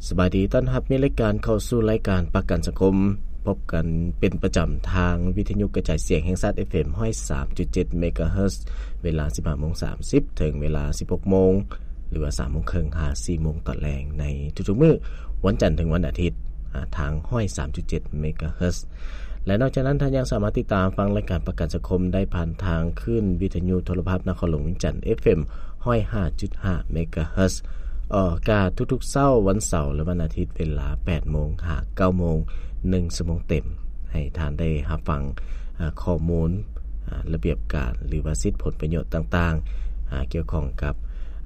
ສະບາຍດີ ຕ້ອນຮັບມີລາຍການເຂົ້າສູ່ລາຍການປະກັນສັງຄົມ ພົບກັນເປັນປະຈຳທາງວິທະຍຸກະຈາຍສຽງແຫ່ງຊາດ ເອັຟເອັມ ຮ້ອຍສາມຈຸດເຈັດ ເມກາເຮີດ ເວລາ ສິບຫ້າໂມງສາມສິບ ເຖິງເວລາ ສິບຫົກໂມງ ຫຼືວ່າ ສາມໂມງເຄິ່ງ ຫາ ສີ່ໂມງຕອນແລງ ໃນທຸກໆມື້ ວັນຈັນເຖິງວັນອາທິດ ອາ ທາງ ຮ້ອຍສາມຈຸດເຈັດ ເມກາເຮີດ. ແລະ ນອກຈາກນັ້ນ ທ່ານຍັງສາມາດຕິດຕາມຟັງລາຍການປະກັນສັງຄົມໄດ້ຜ່ານທາງຄື້ນວິທະຍຸໂທລະພາບນະຄອນຫຼວງວຽງຈັນ ເອັຟເອັມ ຮ້ອຍຫ້າຈຸດຫ້າ ເມກາເຮີດ ອອກອາກາດທຸກໆເຊົ້າວັນເສົາ ແລະ ວັນອາທິດ ເວລາ ແປດໂມງ ຫາ ເກົ້າໂມງ ໜຶ່ງຊົ່ວໂມງເຕັມ ໃຫ້ທ່ານໄດ້ຮັບຟັງ ອາ ຂໍ້ມູນ ອາ ລະບຽບການ ຫຼືວ່າສິດຜົນປະໂຫຍດຕ່າງໆ ອາ ກ່ຽວຂ້ອງກັບ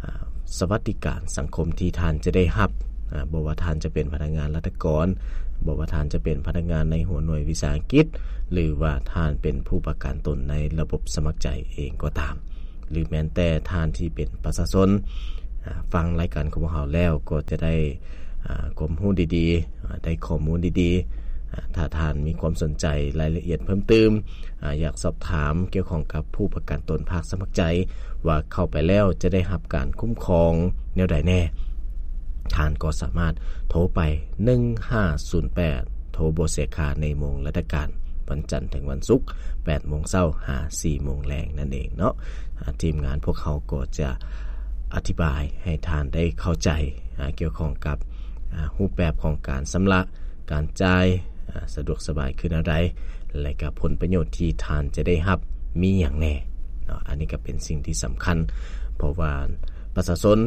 ອາ ສະຫວັດດີການສັງຄົມທີ່ທ່ານຈະໄດ້ຮັບ ອາ ບໍ່ວ່າທ່ານຈະເປັນພະນັກງານລັດຖະກອນ, ບໍ່ວ່າທ່ານຈະເປັນພະນັກງານໃນຫົວໜ່ວຍວິສາຫະກິດ ຫຼືວ່າທ່ານເປັນຜູ້ປະກັນຕົນໃນລະບົບສະໝັກໃຈເອງກໍຕາມ ຫຼືແມ່ນແຕ່ທ່ານທີ່ເປັນປະຊາຊົນ ອາ ຟັງລາຍການຂອງພວກເຮົາແລ້ວກໍຈະໄດ້ ອາ ຄວາມຮູ້ດີໆ ອາ ໄດ້ຂໍ້ມູນດີໆ ອາ ຖ້າທ່ານມີຄວາມສົນໃຈລາຍລະອຽດເພີ່ມຕື່ມ ອາ ຢາກສອບຖາມກ່ຽວຂ້ອງກັບຜູ້ປະກັນຕົນພາກສະໝັກໃຈ ວ່າເຂົ້າໄປແລ້ວຈະໄດ້ຮັບການຄຸ້ມຄອງແນວໃດແດ່, ທ່ານກໍສາມາດໂທໄປ ໜຶ່ງຫ້າສູນແປດ ໂທບໍ່ເສຍຄ່າໃນໂມງລາຊະການ ວັນຈັນເຖິງວັນສຸກ ແປດໂມງເຊົ້າ ຫາ ສີ່ໂມງແລງນັ້ນເອງເນາະ. ອາ ທີມງານພວກເຮົາກໍຈະອະທິບາຍໃຫ້ທ່ານໄດ້ເຂົ້າໃຈ ອາ ກ່ຽວຂ້ອງກັບ ອາ ຮູບແບບຂອງການຊຳລະ ການຈ່າຍ ອາ ສະດວກສະບາຍຄືແນວໃດ ແລະ ກະຜົນປະໂຫຍດທີ່ທ່ານຈະໄດ້ຮັບມີຫຍັງແດ່ເນາະ. ອັນນີ້ກະເປັນສິ່ງທີ່ສຳຄັນ ເພາະວ່າປະຊາຊົນ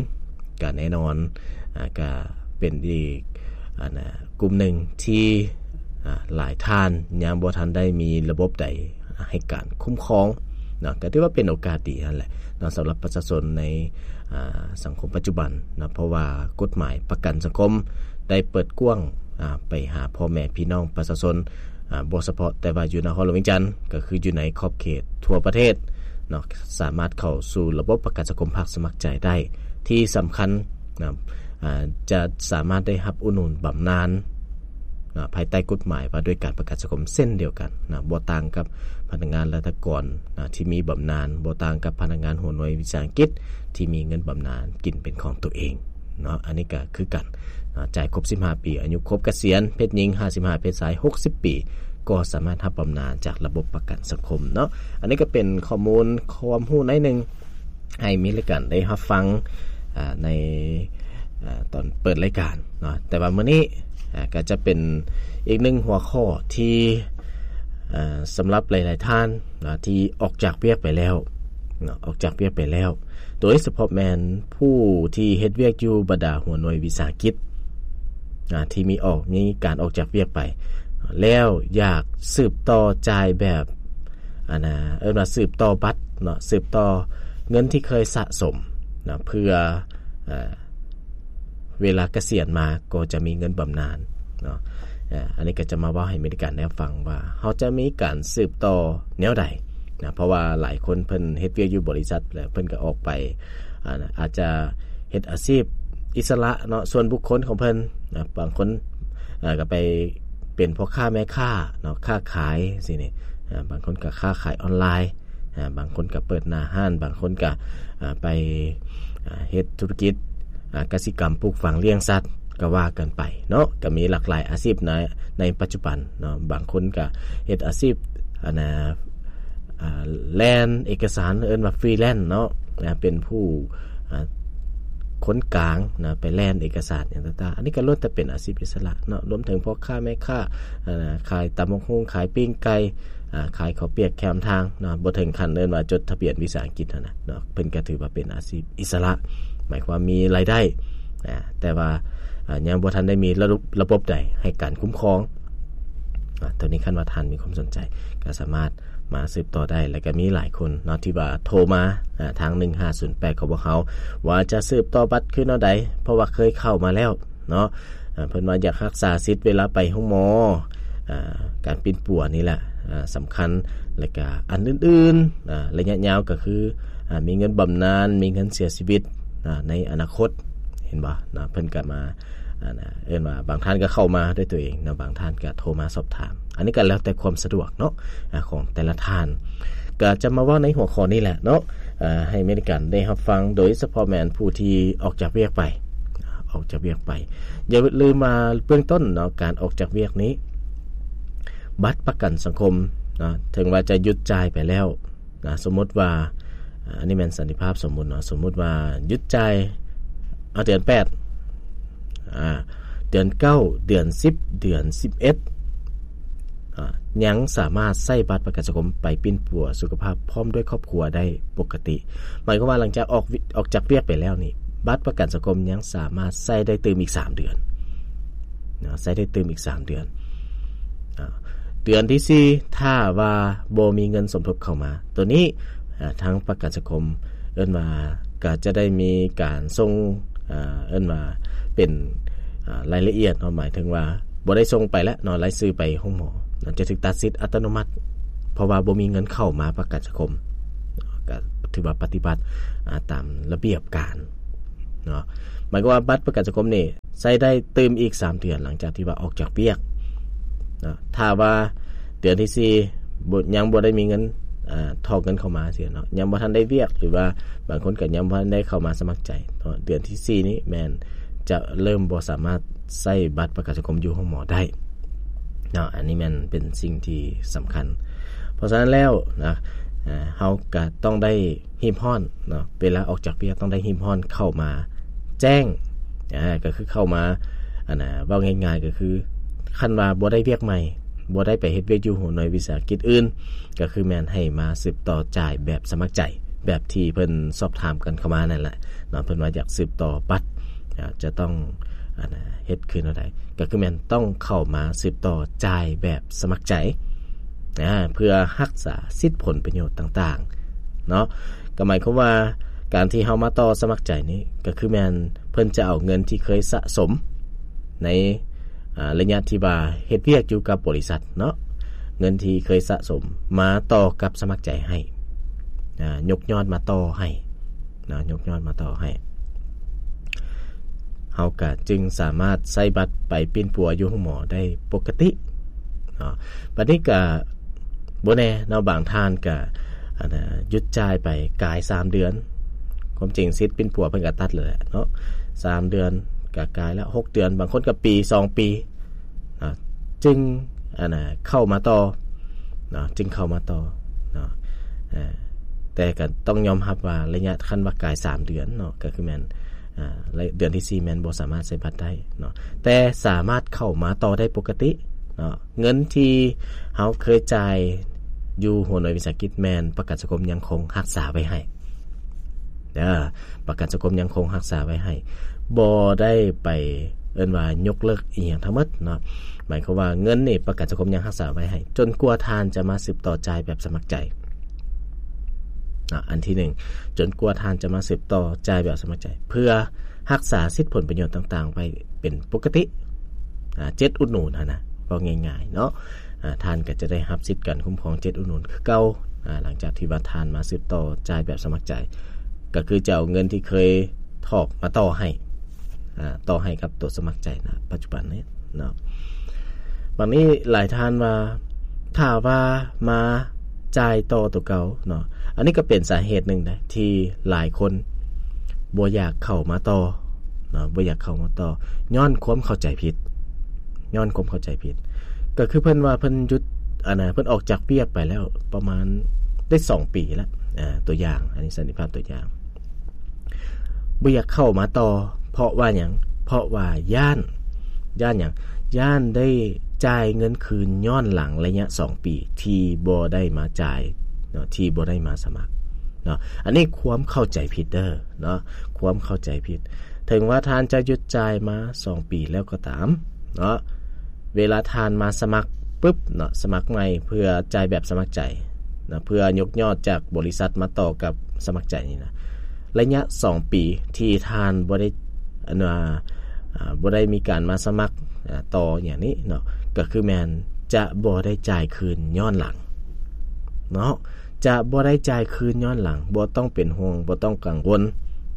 ກະແນ່ນອນ ອາ ກະເປັນອີກ ອັນນະ ກຸ່ມໜຶ່ງທີ່ ອາ ຫຼາຍທ່ານຍັງບໍ່ທັນໄດ້ມີລະບົບໃດໃຫ້ການຄຸ້ມຄອງເນາະ. ກະຖືວ່າເປັນໂອກາດດີຫັ້ນແຫຼະເນາະ ສຳລັບປະຊາຊົນໃນ ອາ ສັງຄົມປັດຈຸບັນເນາະ ເພາະວ່າກົດໝາຍປະກັນສັງຄົມໄດ້ເປີດກວ້າງ ອາ ໄປຫາພໍ່ແມ່ພີ່ນ້ອງປະຊາຊົນ ອາ ບໍ່ສະເພາະແຕ່ວ່າຢູ່ນະຄອນຫຼວງວຽງຈັນ ກະຄືຢູ່ໃນຂອບເຂດທົ່ວປະເທດເນາະ ສາມາດເຂົ້າສູ່ລະບົບປະກັນສັງຄົມພາກສະໝັກໃຈໄດ້. ທີ່ສຳຄັນນະ ອາ ຈະສາມາດໄດ້ຮັບອຸດໜູນບຳນານນະ ພາຍໃຕ້ກົດໝາຍວ່າດ້ວຍການປະກັນສັງຄົມເຊັ່ນດຽວກັນນະ ບໍ່ຕ່າງກັບພະນັກງານລັດຖະກອນນະທີ່ມີບຳນານ, ບໍ່ຕ່າງກັບພະນັກງານຫົວໜ່ວຍວິສາຫະກິດທີ່ມີເງິນບຳນານກິນເປັນຂອງຕົວເອງເນາະ. ອັນນີ້ກະຄືກັນນະ ຈ່າຍຄົບສິບຫ້າປີ, ອາຍຸຄົບກະສຽນ, ເພດຍິງຫ້າສິບຫ້າ, ເພດຊາຍຫົກສິບປີ ກໍສາມາດຮັບບຳນານຈາກລະບົບປະກັນສັງຄົມເນາະ. ອັນນີ້ກະເປັນຂໍ້ມູນຄວາມຮູ້ໜ້ອຍໜຶ່ງ ໃຫ້ມີລາຍການໄດ້ຮັບຟັງ ອາ ໃນ ອາ ຕອນເປີດລາຍການເນາະ. ແຕ່ວ່າມື້ນີ້ ອາ ກະຈະເປັນອີກໜຶ່ງຫົວຂໍ້ທີ່ ອາ ສຳລັບຫຼາຍໆທ່ານນະ ທີ່ອອກຈາກວຽກໄປແລ້ວເນາະ, ອອກຈາກວຽກໄປແລ້ວ ໂດຍສະເພາະແມ່ນຜູ້ທີ່ເຮັດວຽກຢູ່ບັນດາຫົວໜ່ວຍວິສາຫະກິດ ອາ ທີ່ມີອອກ ມີການອອກຈາກວຽກໄປ ແລ້ວຢາກສືບຕໍ່ຈ່າຍແບບ ອັນນະ ເອີ້ນວ່າສືບຕໍ່ບັດເນາະ, ສືບຕໍ່ເງິນທີ່ເຄີຍສະສົມເນາະ ເພື່ອ ເອີ ເວລາກະສຽນມາກໍຈະມີເງິນບຳນານເນາະ. ເອີ ອັນນີ້ກະຈະມາເວົ້າໃຫ້ມີລາຍການໄດ້ຟັງວ່າ ເຮົາຈະມີການສືບຕໍ່ແນວໃດນະ, ເພາະວ່າຫຼາຍຄົນເພິ່ນເຮັດວຽກຢູ່ບໍລິສັດ ແລ້ວເພິ່ນກະອອກໄປ ອາ ອາດຈະເຮັດອາຊີບອິດສະຫຼະເນາະ, ສ່ວນບຸກຄົນຂອງເພິ່ນນະ. ບາງຄົນ ອາ ກະໄປເປັນພໍ່ຄ້າແມ່ຄ້າເນາະ, ຄ້າຂາຍຊີ້ນີ້, ອາ ບາງຄົນກະຄ້າຂາຍອອນລາຍ, ອາ ບາງຄົນກະເປີດໜ້າຮ້ານ, ບາງຄົນກະ ອາ ໄປ ອາ ເຮັດທຸລະກິດ ອາ ກະສິກຳ ປູກຝັງ ລ້ຽງສັດ ກະວ່າກັນໄປເນາະ. ກະມີຫຼາກຫຼາຍອາຊີບໃນ ໃນປັດຈຸບັນເນາະ. ບາງຄົນກະເຮັດອາຊີບ ອັນນະ ອາ ແລ່ນເອກະສານ ເອີ້ນວ່າຟຣີແລນເນາະ, ອາ ເປັນຜູ້ ອາ ຄົນກາງນະ ໄປແລ່ນເອກະສານຫຍັງຕ່າງໆ. ອັນນີ້ກະລ້ວນແຕ່ເປັນອາຊີບອິດສະຫຼະເນາະ, ລວມເຖິງພໍ່ຄ້າແມ່ຄ້າ ອາ ຂາຍຕຳບັກຫຸ່ງ ຂາຍປີ້ງໄກ່ ອາ ຂາຍເຂົ້າປຽກແຄມທາງເນາະ, ບໍ່ເຖິງຂັ້ນເອີ້ນວ່າຈົດທະບຽນວິສາຫະກິດຫັ້ນນະເນາະ, ເພິ່ນກະຖືວ່າເປັນອາຊີບອິດສະຫຼະ ໝາຍຄວາມມີລາຍໄດ້ ອາ ແຕ່ວ່າ ອາ ຍັງບໍ່ທັນໄດ້ມີລະບົບ ລະບົບໃດໃຫ້ການຄຸ້ມຄອງ. ອາ ໂຕນີ້ຄັນວ່າທ່ານມີຄວາມສົນໃຈ ກະສາມາດມາສືບຕໍ່ໄດ້ ແລະກະມີຫຼາຍຄົນເນາະ ທີ່ວ່າໂທມາ ອາ ທາງ ໜຶ່ງຫ້າສູນແປດ ຂອງພວກເຮົາ ວ່າຈະສືບຕໍ່ບັດຄືແນວໃດ ເພາະວ່າເຄີຍເຂົ້າມາແລ້ວ ເນາະ. ອາ ເພິ່ນວ່າຢາກຮັກສາສິດເວລາໄປໂຮງໝໍ ອາ ການປິ່ນປົວນີ້ແຫຼະ ອາ ສຳຄັນ ແລະກະອັນອື່ນໆ ອາ ໄລຍະຍາວກະຄື ອາ ມີເງິນບຳນານ ມີເງິນເສຍຊີວິດ ອາ ໃນອະນາຄົດ ເຫັນບໍ່ເນາະ. ເພິ່ນກະມາ ອັນນະ ເອີ້ນວ່າບາງທ່ານກະເຂົ້າມາດ້ວຍຕົວເອງເນາະ, ບາງທ່ານກະໂທມາສອບຖາມ, ອັນນີ້ກະແລ້ວແຕ່ຄວາມສະດວກເນາະ ອາ ຂອງແຕ່ລະທ່ານ. ກະຈະມາເວົ້າໃນຫົວຂໍ້ນີ້ແຫຼະເນາະ ອາ ໃຫ້ມີລາຍການໄດ້ຮັບຟັງ ໂດຍສະເພາະແມ່ນຜູ້ທີ່ອອກຈາກວຽກໄປ ອອກຈາກວຽກໄປ. ຢ່າລືມວ່າເບື້ອງຕົ້ນເນາະ ການອອກຈາກວຽກນີ້ ບັດປະກັນສັງຄົມເນາະ ເຖິງວ່າຈະຢຸດຈ່າຍໄປແລ້ວນະ ສົມມຸດວ່າ ອາ ອັນນີ້ແມ່ນສັນຕິພາບສົມມຸດເນາະ ສົມມຸດວ່າຢຸດຈ່າຍ ເອົາ ເດືອນແປດ ອາ ເດືອນເກົ້າ ເດືອນສິບ ເດືອນສິບເອັດ ອາ ຍັງສາມາດໃຊ້ບັດປະກັນສັງຄົມໄປປິ່ນປົວສຸຂະພາບພ້ອມດ້ວຍຄອບຄົວໄດ້ປົກກະຕິ. ໝາຍຄວາມວ່າຫຼັງຈາກອອກ ອອກຈາກວຽກໄປແລ້ວນີ້ ບັດປະກັນສັງຄົມຍັງສາມາດໃຊ້ໄດ້ຕື່ມອີກສາມເດືອນເນາະ ໃຊ້ໄດ້ຕື່ມອີກສາມເດືອນ. ອາ ເດືອນທີສີ່ ຖ້າວ່າບໍ່ມີເງິນສົມທົບເຂົ້າມາ ໂຕນີ້ ອາ ທາງປະກັນສັງຄົມເອີ້ນວ່າ ກໍຈະໄດ້ມີການສົ່ງ ອາ ເອີ້ນວ່າເປັນ ອາ ລາຍລະອຽດເນາະ ໝາຍເຖິງວ່າບໍ່ໄດ້ສົ່ງໄປແລ້ວເນາະ ລາຍຊື່ໄປໂຮງໝໍເນາະ ຈະຖືກຕັດສິດອັດຕະໂນມັດ ເພາະວ່າບໍ່ມີເງິນເຂົ້າມາປະກັນສັງຄົມ ກໍຖືວ່າປະຕິບັດ ອາ ຕາມລະບຽບການເນາະ. ໝາຍຄວາມວ່າບັດປະກັນສັງຄົມນີ້ ໃຊ້ໄດ້ຕື່ມອີກສາມເດືອນ ຫຼັງຈາກທີ່ວ່າອອກຈາກວຽກເນາະ. ຖ້າວ່າເດືອນທີສີ່ ບໍ່ ຍັງບໍ່ໄດ້ມີເງິນ ອາ ຖອກເງິນເຂົ້າມາຊີ້ເນາະ ຍັງບໍ່ທັນໄດ້ວຽກ ຫຼືວ່າບາງຄົນກໍຍັງບໍ່ທັນໄດ້ເຂົ້າມາສະໝັກໃຈເນາະ ເດືອນທີສີ່ນີ້ແມ່ນຈະເລີ່ມບໍ່ສາມາດໃຊ້ບັດປະກັນສັງຄົມຢູ່ໂຮງໝໍໄດ້ເນາະ. ອັນນີ້ແມ່ນເປັນສິ່ງທີ່ສຳຄັນ. ເພາະສະນັ້ນແລ້ວນະ ອາ ເຮົາກໍຕ້ອງໄດ້ ຮີບຮ້ອນເນາະ ເວລາອອກຈາກວຽກຕ້ອງໄດ້ຮີບຮ້ອນເຂົ້າມາແຈ້ງ ອາ ກໍຄືເຂົ້າມາ ອັນນ່າ ເວົ້າງ່າຍໆ ກໍຄືຄັນວ່າບໍ່ໄດ້ວຽກໃໝ່ ບໍ່ໄດ້ໄປເຮັດວຽກຢູ່ຫົວໜ່ວຍວິສາຫະກິດອື່ນ ກໍຄືແມ່ນໃຫ້ມາສືບຕໍ່ຈ່າຍແບບສະໝັກໃຈ ແບບທີ່ເພິ່ນສອບຖາມກັນເຂົ້າມານັ້ນແຫຼະເນາະ ເພິ່ນວ່າຢາກສືບຕໍ່ບັດ ອາ ຈະຕ້ອງ ອັນນ່າ ເຮັດຄືແນວໃດ ກໍຄືແມ່ນຕ້ອງເຂົ້າມາສືບຕໍ່ຈ່າຍແບບສະໝັກໃຈ ອາ ເພື່ອຮັກສາສິດຜົນປະໂຫຍດຕ່າງໆເນາະ. ກໍໝາຍຄວາມວ່າການທີ່ເຮົາມາຕໍ່ສະໝັກໃຈນີ້ ກໍຄືແມ່ນເພິ່ນຈະເອົາເງິນທີ່ເຄີຍສະສົມໃນ ອາ ໄລຍະທີ່ວ່າເຮັດວຽກຢູ່ກັບບໍລິສັດເນາະ ເງິນທີ່ເຄີຍສະສົມມາຕໍ່ກັບສະໝັກໃຈໃຫ້ ອາ ຍົກຍອດມາຕໍ່ໃຫ້ ເນາະ ຍົກຍອດມາຕໍ່ໃຫ້ ເຮົາກະຈຶ່ງສາມາດໃຊ້ບັດໄປປິ່ນປົວຢູ່ໂຮງໝໍໄດ້ປົກກະຕິເນາະ. ບັດນີ້ກະບໍ່ແນ່ເນາະ ບາງທ່ານກະ ອັນນ່າ ຢຸດຈ່າຍໄປກາຍສາມເດືອນ ຄວາມຈິງສິດປິ່ນປົວເພິ່ນກະຕັດແລ້ວແຫຼະເນາະ ສາມເດືອນກະກາຍແລ້ວ ຫົກເດືອນ ບາງຄົນກະປີ ສອງປີ ເນາະ ຈຶ່ງ ອັນນ່າ ເຂົ້າມາຕໍ່ເນາະ ຈຶ່ງເຂົ້າມາຕໍ່ເນາະ. ເອີ ແຕ່ກໍຕ້ອງຍອມຮັບວ່າໄລຍະ ຄັນວ່າກາຍສາມເດືອນເນາະ ກໍຄືແມ່ນ ອາ ເດືອນທີສີ່ແມ່ນບໍ່ສາມາດໃຊ້ບັດໄດ້ເນາະ ແຕ່ສາມາດເຂົ້າມາຕໍ່ໄດ້ປົກກະຕິເນາະ. ເງິນທີ່ເຮົາເຄີຍຈ່າຍຢູ່ຫົວໜ່ວຍວິສາຫະກິດ ແມ່ນປະກັນສັງຄົມຍັງຄົງຮັກສາໄວ້ໃຫ້ ເດີ ປະກັນສັງຄົມຍັງຄົງຮັກສາໄວ້ໃຫ້ ບໍ່ໄດ້ໄປເອີ້ນວ່າຍົກເລີກອີ່ຫຍັງທັງໝົດເນາະ. ໝາຍຄວາມວ່າເງິນນີ້ປະກັນສັງຄົມຍັງຮັກສາໄວ້ໃຫ້ ຈົນກວ່າທ່ານຈະມາສືບຕໍ່ຈ່າຍແບບສະໝັກໃຈເນາະ. ອັນທີໜຶ່ງ ຈົນກວ່າທ່ານຈະມາສືບຕໍ່ຈ່າຍແບບສະໝັກໃຈ ເພື່ອຮັກສາສິດຜົນປະໂຫຍດຕ່າງໆໄວ້ເປັນປົກກະຕິ ອາ ເຈັດອຸດໜູນຫັ້ນນະ ເວົ້າງ່າຍໆເນາະ. ອາ ທ່ານກໍຈະໄດ້ຮັບສິດການຄຸ້ມຄອງເຈັດອຸດໜູນຄືເກົ່າ ອາ ຫຼັງຈາກທີ່ວ່າທ່ານມາສືບຕໍ່ຈ່າຍແບບສະໝັກໃຈ ກໍຄືຈະເອົາເງິນທີ່ເຄີຍຖອກມາຕໍ່ໃຫ້ ອາ ຕໍ່ໃຫ້ກັບຕົວສະໝັກໃຈນະ ປັດຈຸບັນນີ້ເນາະ. ບາດນີ້ຫຼາຍທ່ານວ່າ ຖ້າວ່າມາຈ່າຍຕໍ່ຕົວເກົ່າເນາະ ອັນນີ້ກໍເປັນສາເຫດໜຶ່ງນະ ທີ່ຫຼາຍຄົນບໍ່ຢາກເຂົ້າມາຕໍ່ເນາະ ບໍ່ຢາກເຂົ້າມາຕໍ່ ຍ້ອນຄວາມເຂົ້າໃຈຜິດ ຍ້ອນຄວາມເຂົ້າໃຈຜິດ ກໍຄືເພິ່ນວ່າເພິ່ນຢຸດ ອັນນ່າ ເພິ່ນອອກຈາກວຽກໄປແລ້ວປະມານໄດ້ສອງປີແລ້ວ ອາ ຕົວຢ່າງ ອັນນີ້ສັນຕິພາບຕົວຢ່າງ ບໍ່ຢາກເຂົ້າມາຕໍ່ ເພາະວ່າຫຍັງ? ເພາະວ່າຢ້ານ ຢ້ານຫຍັງ? ຢ້ານໄດ້ຈ່າຍເງິນຄືນຍ້ອນຫຼັງໄລຍະສອງປີທີ່ບໍ່ໄດ້ມາຈ່າຍເນາະ ທີ່ບໍ່ໄດ້ມາສະໝັກເນາະ. ອັນນີ້ຄວາມເຂົ້າໃຈຜິດເດີເນາະ ຄວາມເຂົ້າໃຈຜິດ. ເຖິງວ່າທ່ານຈະຢຸດຈ່າຍມາສອງປີແລ້ວກໍຕາມເນາະ ເວລາທ່ານມາສະໝັກປຶບເນາະ ສະໝັກໃໝ່ເພື່ອຈ່າຍແບບສະໝັກໃຈເນາະ ເພື່ອຍົກຍອດຈາກບໍລິສັດມາຕໍ່ກັບສະໝັກໃຈນີ້ນະ ໄລຍະສອງປີທີ່ທ່ານບໍ່ໄດ້ ອັນວ່າ ອາ ບໍ່ໄດ້ມີການມາສະໝັກ ອາ ຕໍ່ຫຍັງນີ້ເນາະ ກໍຄືແມ່ນຈະບໍ່ໄດ້ຈ່າຍຄືນຍ້ອນຫຼັງເນາະ ຈະບໍ່ໄດ້ຈ່າຍຄືນຍ້ອນຫຼັງ. ບໍ່ຕ້ອງເປັນຫ່ວງ ບໍ່ຕ້ອງກັງວົນ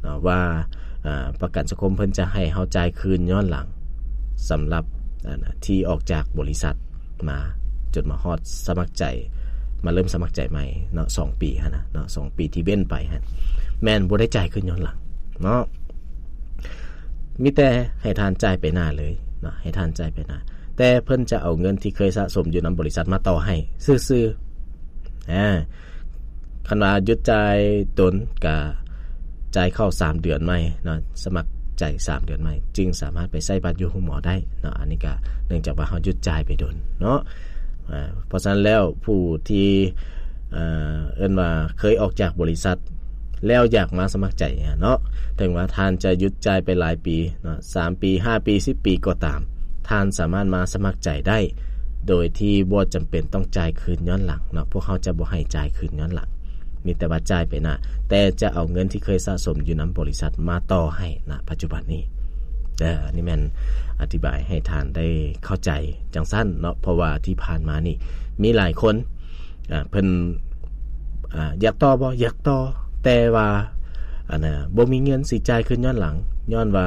ເນາະວ່າ ອາ ປະກັນສັງຄົມເພິ່ນຈະໃຫ້ເຮົາຈ່າຍຄືນຍ້ອນຫຼັງ ສຳລັບ ອັນ ທີ່ອອກຈາກບໍລິສັດ ມາ ຈົນມາຮອດສະໝັກໃຈ ມາເລີ່ມສະໝັກໃຈໃໝ່ເນາະ ສອງປີຫັ້ນນະເນາະ ສອງປີທີ່ເວັ້ນໄປຫັ້ນ ແມ່ນບໍ່ໄດ້ຈ່າຍຄືນຍ້ອນຫຼັງເນາະ. ມີແຕ່ໃຫ້ທ່ານຈ່າຍໄປໜ້າເລີຍເນາະ, ໃຫ້ທ່ານຈ່າຍໄປໜ້າ, ແຕ່ເພິ່ນຈະເອົາເງິນທີ່ເຄີຍສະສົມຢູ່ນຳບໍລິສັດມາຕໍ່ໃຫ້ຊື່ໆ. ອາ ຄັນວ່າຢຸດຈ່າຍດົນ ກະຈ່າຍເຂົ້າສາມເດືອນໃໝ່ເນາະ, ສະໝັກໃຈສາມເດືອນໃໝ່ ຈຶ່ງສາມາດໄປໃຊ້ບັດຢູ່ໂຮງໝໍໄດ້ເນາະ. ອັນນີ້ກະເນື່ອງຈາກວ່າເຮົາຢຸດຈ່າຍໄປດົນເນາະ. ອາ ເພາະສະນັ້ນແລ້ວ ຜູ້ທີ່ ເອີ ເອີ້ນວ່າເຄີຍອອກຈາກບໍລິສັດ ແລ້ວຢາກມາສະໝັກໃຈເນາະ, ເຖິງວ່າທ່ານຈະຢຸດຈ່າຍໄປຫຼາຍປີເນາະ, ສາມປີ ຫ້າປີ ສິບປີກໍຕາມ, ທ່ານສາມາດມາສະໝັກໃຈໄດ້ ໂດຍທີ່ບໍ່ຈຳເປັນຕ້ອງຈ່າຍຄືນຍ້ອນຫຼັງເນາະ. ພວກເຮົາຈະບໍ່ໃຫ້ຈ່າຍຄືນຍ້ອນຫຼັງ, ມີແຕ່ວ່າຈ່າຍໄປໜ້າ, ແຕ່ຈະເອົາເງິນທີ່ເຄີຍສະສົມຢູ່ນຳບໍລິສັດມາຕໍ່ໃຫ້ນະປັດຈຸບັນນີ້. ເອີ ອັນນີ້ແມ່ນອະທິບາຍໃຫ້ທ່ານໄດ້ເຂົ້າໃຈຈັ່ງຊັ້ນເນາະ, ເພາະວ່າທີ່ຜ່ານມານີ້ມີຫຼາຍຄົນ ອາ ເພິ່ນ ອາ ຢາກຕໍ່ບໍ່? ຢາກຕໍ່, ແຕ່ວ່າ ອັນນ່າ ບໍ່ມີເງິນຊິຈ່າຍຄືນຍ້ອນຫຼັງ, ຍ້ອນວ່າ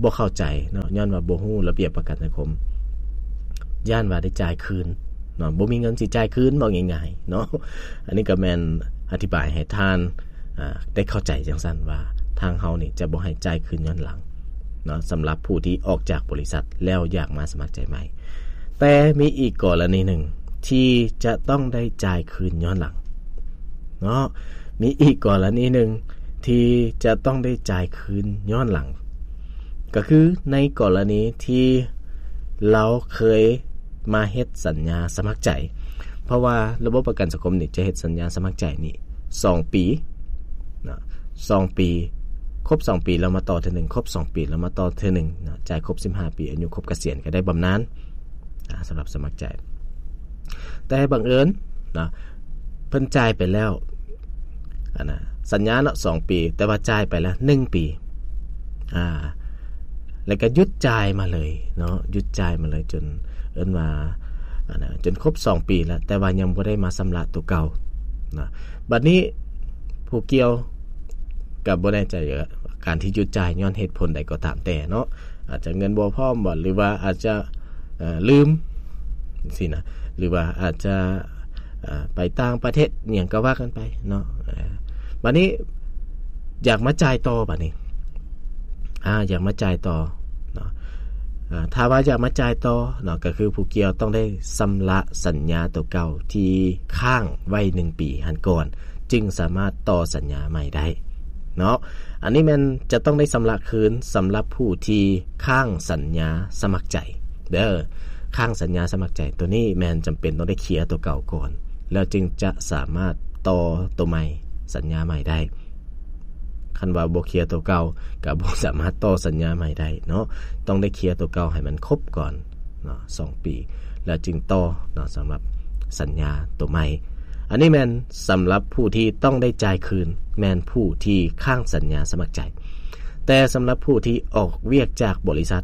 ບໍ່ເຂົ້າໃຈເນາະ, ຍ້ອນວ່າບໍ່ຮູ້ລະບຽບປະກັນສັງຄົມ, ຢ້ານວ່າໄດ້ຈ່າຍຄືນເນາະ, ບໍ່ມີເງິນຊິຈ່າຍຄືນ, ເວົ້າງ່າຍໆເນາະ. ອັນນີ້ກໍແມ່ນອະທິບາຍໃຫ້ທ່ານ ອາ ໄດ້ເຂົ້າໃຈຈັ່ງຊັ້ນວ່າ ທາງເຮົານີ້ຈະບໍ່ໃຫ້ຈ່າຍຄືນຍ້ອນຫຼັງເນາະ, ສຳລັບຜູ້ທີ່ອອກຈາກບໍລິສັດແລ້ວຢາກມາສະໝັກໃຈໃໝ່. ແຕ່ມີອີກກໍລະນີໜຶ່ງທີ່ຈະຕ້ອງໄດ້ຈ່າຍຄືນຍ້ອນຫຼັງເນາະ, ມີອີກກໍລະນີໜຶ່ງທີ່ຈະຕ້ອງໄດ້ຈ່າຍຄືນຍ້ອນຫຼັງ, ກໍຄືໃນກໍລະນີທີ່ລາວເຄີຍມາເຮັດສັນຍາສະໝັກໃຈ, ເພາະວ່າລະບົບປະກັນສັງຄົມນີ້ຈະເຮັດສັນຍາສະໝັກໃຈນີ້ສອງປີເນາະ, ສອງປີ, ຄົບສອງປີແລ້ວມາຕໍ່ເທື່ອໜຶ່ງ, ຄົບສອງປີແລ້ວມາຕໍ່ເທື່ອໜຶ່ງເນາະ, ຈ່າຍຄົບສິບຫ້າປີ ອາຍຸຄົບກະສຽນກໍໄດ້ບຳນານ ອາ ສຳລັບສະໝັກໃຈ. ແຕ່ບັງເອີນເນາະ ເພິ່ນຈ່າຍໄປແລ້ວ ອັນນ່າ ສັນຍາເນາະ ສອງປີ, ແຕ່ວ່າຈ່າຍໄປແລ້ວໜຶ່ງປີ ອາ ແລ້ວກໍຢຸດຈ່າຍມາເລີຍເນາະ, ຢຸດຈ່າຍມາເລີຍ ຈົນເອີ້ນວ່າ ອັນນ່າ ຈົນຄົບສອງປີແລ້ວ, ແຕ່ວ່າຍັງບໍ່ໄດ້ມາຊຳລະຕົວເກົ່າເນາະ. ບັດນີ້ຜູ້ກ່ຽວກໍບໍ່ແນ່ໃຈວ່າ ການທີ່ຢຸດຈ່າຍຍ້ອນເຫດຜົນໃດກໍຕາມແຕ່ເນາະ, ອາດຈະເງິນບໍ່ພ້ອມບໍ ຫຼືວ່າອາດຈະ ເອີ ລືມຊີ້ນະ ຫຼືວ່າອາດຈະ ເອີ ໄປຕ່າງປະເທດ ອີ່ຫຍັງກໍວ່າກັນໄປເນາະ. ເອີ ບັດນີ້ຢາກມາຈ່າຍຕໍ່ ບັດນີ້ ອາ ຢາກມາຈ່າຍຕໍ່ເນາະ. ອາ ຖ້າວ່າຢາກມາຈ່າຍຕໍ່ເນາະ ກໍຄືຜູ້ກ່ຽວຕ້ອງໄດ້ຊຳລະສັນຍາຕົວເກົ່າທີ່ຄ້າງໄວ້ໜຶ່ງປີຫັ້ນກ່ອນ ຈຶ່ງສາມາດຕໍ່ສັນຍາໃໝ່ໄດ້ເນາະ. ອັນນີ້ແມ່ນຈະຕ້ອງໄດ້ຊຳລະຄືນສຳລັບຜູ້ທີ່ຄ້າງສັນຍາສະໝັກໃຈເດີ. ຄ້າງສັນຍາສະໝັກໃຈຕົວນີ້ແມ່ນຈຳເປັນຕ້ອງໄດ້ເຄຍຕົວເກົ່າກ່ອນ ແລ້ວຈຶ່ງຈະສາມາດຕໍ່ຕົວໃໝ່ ສັນຍາໃໝ່ໄດ້. ຄັນວ່າບໍ່ເຄຍຕົວເກົ່າ ກໍບໍ່ສາມາດຕໍ່ສັນຍາໃໝ່ໄດ້ເນາະ. ຕ້ອງໄດ້ເຄຍຕົວເກົ່າໃຫ້ມັນຄົບກ່ອນເນາະ ສອງປີ ແລ້ວຈຶ່ງຕໍ່ເນາະ ສຳລັບສັນຍາຕົວໃໝ່. ອັນນີ້ແມ່ນສຳລັບຜູ້ທີ່ຕ້ອງໄດ້ຈ່າຍຄືນ ແມ່ນຜູ້ທີ່ຄ້າງສັນຍາສະໝັກໃຈ. ແຕ່ສຳລັບຜູ້ທີ່ອອກວຽກຈາກບໍລິສັດ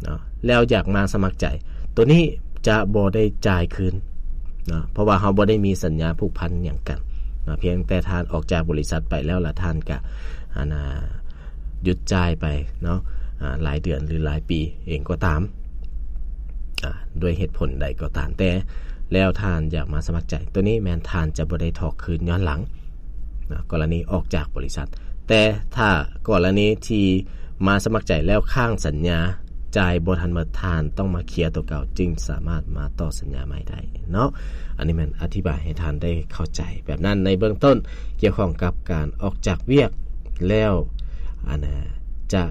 ເນາະ ແລ້ວຢາກມາສະໝັກໃຈ ຕົວນີ້ຈະບໍ່ໄດ້ຈ່າຍຄືນເນາະ ເພາະວ່າເຮົາບໍ່ໄດ້ມີສັນຍາຜູກພັນຫຍັງກັນເນາະ. ພຽງແຕ່ທ່ານອອກຈາກບໍລິສັດໄປແລ້ວ ແລ້ວທ່ານກະ ອັນນ່າ ຢຸດຈ່າຍໄປເນາະ ອາ ຫຼາຍເດືອນ ຫຼື ຫຼາຍປີເອງກໍຕາມ ອາ ດ້ວຍເຫດຜົນໃດກໍຕາມແຕ່ ແລ້ວທ່ານຢາກມາສະໝັກໃຈ ຕົວນີ້ແມ່ນທ່ານຈະບໍ່ໄດ້ຖອກຄືນຍ້ອນຫຼັງເນາະ ກໍລະນີອອກຈາກບໍລິສັດ. ແຕ່ຖ້າກໍລະນີທີ່ມາສະໝັກໃຈແລ້ວຄ້າງສັນຍາ ຈ່າຍບໍ່ທັນໝົດ ທ່ານຕ້ອງມາເຄຍຕົວເກົ່າ ຈຶ່ງສາມາດມາຕໍ່ສັນຍາໃໝ່ໄດ້ເນາະ. ອັນນີ້ແມ່ນອະທິບາຍໃຫ້ທ່ານໄດ້ເຂົ້າໃຈແບບນັ້ນໃນເບື້ອງຕົ້ນ ກ່ຽວຂ້ອງກັບການອອກຈາກວຽກແລ້ວ ອັນນ່າ ຈະ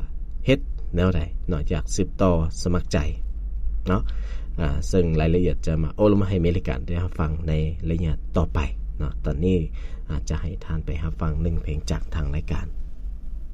ເຮັດແນວໃດເນາະ ຢາກສືບຕໍ່ສະໝັກໃຈເນາະ. ອາ ເຊິ່ງລາຍລະອຽດຈະມາໂອ້ລົມໃຫ້ເມລິກາໄດ້ຮັບຟັງໃນໄລຍະຕໍ່ໄປເນາະ. ຕອນນີ້ ອາດຈະໃຫ້ທ່ານໄປຮັບຟັງໜຶ່ງເພງຈາກທາງລາຍການ